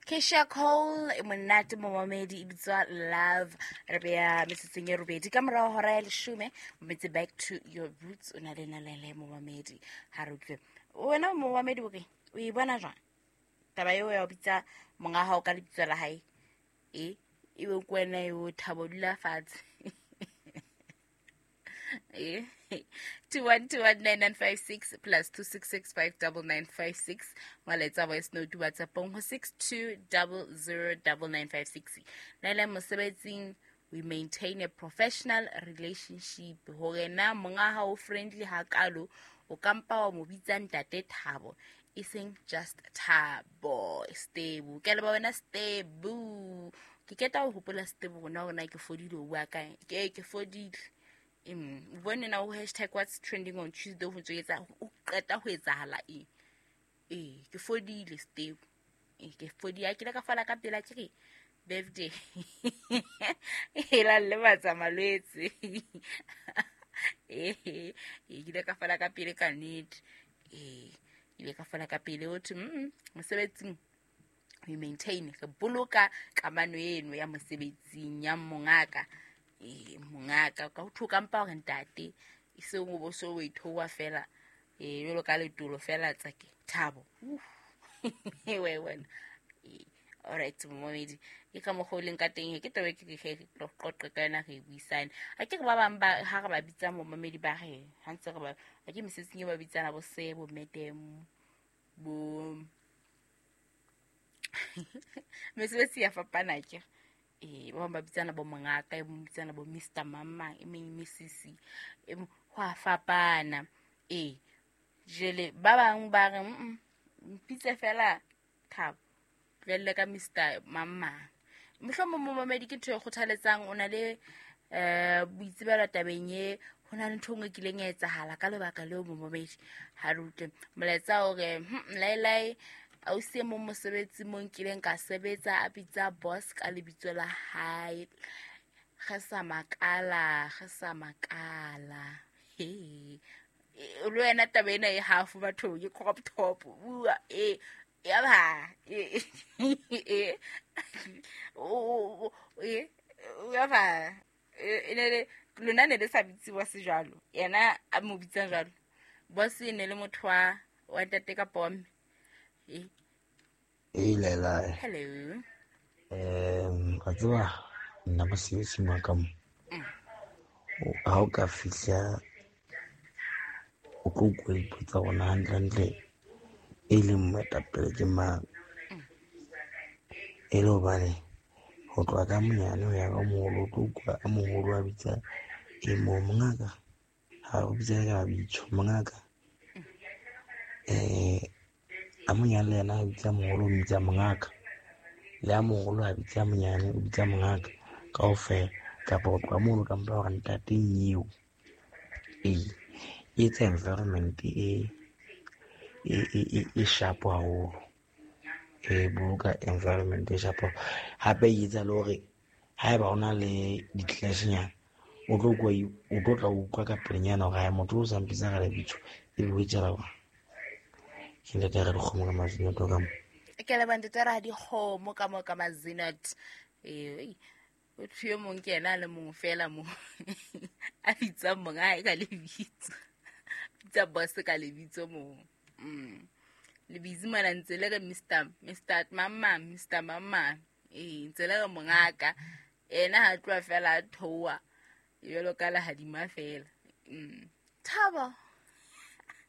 Kesha Cole e monate momamedi e bitswa Love. Re beya metsotsong e robedi ka morago hora ya leshome, metse back to your roots. O na le nalele momamedi, ha re utlwe wena momamedi o re o e bona jwang taba eo ya ho bitsa monga hao ka lebitso la hae, e ebe ke wena eo Thabo dula fatshe. 21219956 plus 2665956, molaetsa voice note WhatsAppong ho 62009956. Nele mosebetsing we maintain a professional relationship, hore na monga hao friendly hakalo, o kampa wa mo bitsa ntate Thabo, e seng just Thabo. Stebu, ke leba wena Stebu, ke keta ho hopola Stebu rona hore na ke fodile, o bua kae, ke fodile. O bone na ho hashtag what's trending on Tuesday ho ntso etsa o qeta ho etsahala eng. Ee, ke fodile Stebu, ee, ke fodile, ke ile ka fola ka pela, ke re birthday e la lebatsa malwetse. Ee, ke ile ka fola ka pele ka nnete. Ee, ke ile ka fola ka pele. O thwe mosebetsing we maintain, re boloka kamano eno ya mosebetsing ya mongaka. Ee, mongaka ka ho thoka mpa hore ntate, e seng o bo so o ithowa fela, ee, jwalo ka letolo fela tsake Thabo. We wena. Ee, alright momamedi, ke ka mokgwa o leng ka teng he, ke taba e ke ke tlo qoqe ka yona, re buisane. A ke re ba bang ba ha re ba bitsa momamedi ba re ha ntse re ba a ke mesebetsing e ba bitsana bo se bo madam bo mesebetsi ya fapana ke. Ee, ba bang ba bitsana bo mongaka, e mong bitsana bo Mr Mama, e meng Mrs, e mong, ho a fapana. Ee, jele ba bang ba re mpitse fela Thabo, tlohelle ka Mr Mama. Mohlomong momamedi ke ntho e kgothaletsang, o na le boitsebelo tabeng e, ho na le ntho e nngwe e kileng ya etsahala ka lebaka leo momamedi. Ha re utlwe molaetsa o re laelae ausi e mong mosebetsi mo nkileng ka sebetsa a bitsa boss ka lebitso la hae, re sa makala, re sa makala. He, le wena taba ena e half bathong, ke crop top bua e ya ba e o e ya ba e ne le lona ne le sa bitse boss jwalo, yena a mo bitsa jwalo. Boss e ne le motho wa ntate kapa wa mme. E e lela. Hello. Wa tseba nna mosebetsing wa ka mo, ha o ka fihla o tlo utlwa dipotsa rona hantlentle e leng moetapele ke mang, e le hobane ho tloha ka monyane ho ya ka moholo, o tlo utlwa a moholo a bitsa e mong mongaka, ha o bitsa ka mabitso mongaka. A monyane le yena a bitsa moholo, o bitsa mongaka, le a moholo a bitsa monyane, o bitsa mongaka kaofela. Kapa ho tloha mono ka mpa hore ntate nyeo, ee, e etsa environment e sharp haholo, e boloka environment e sharp. Hape e etsa le hore haeba o na le di-clash-nyana, o tlo kwa, o tlo tla utlwa ka pelenyana hore hae motho o sa mpitsa ka lebitso, ebe o etsahala jwang. Ke ntate Radikgomo ka Mazinot ka mo. Ke leboha ntate Radikgomo ka mo ka Mazinot. Ee, motho yo mong ke yena a le mong fela mo a bitsang monga hae ka lebitso, bitsa boss ka lebitso mo. Le busy mona ntse le re Mr Mr Mama, Mr Mama. Ee, ntse le re mongaka, ena ha tloha fela a theoha jwalo ka lehadima fela. Thabo.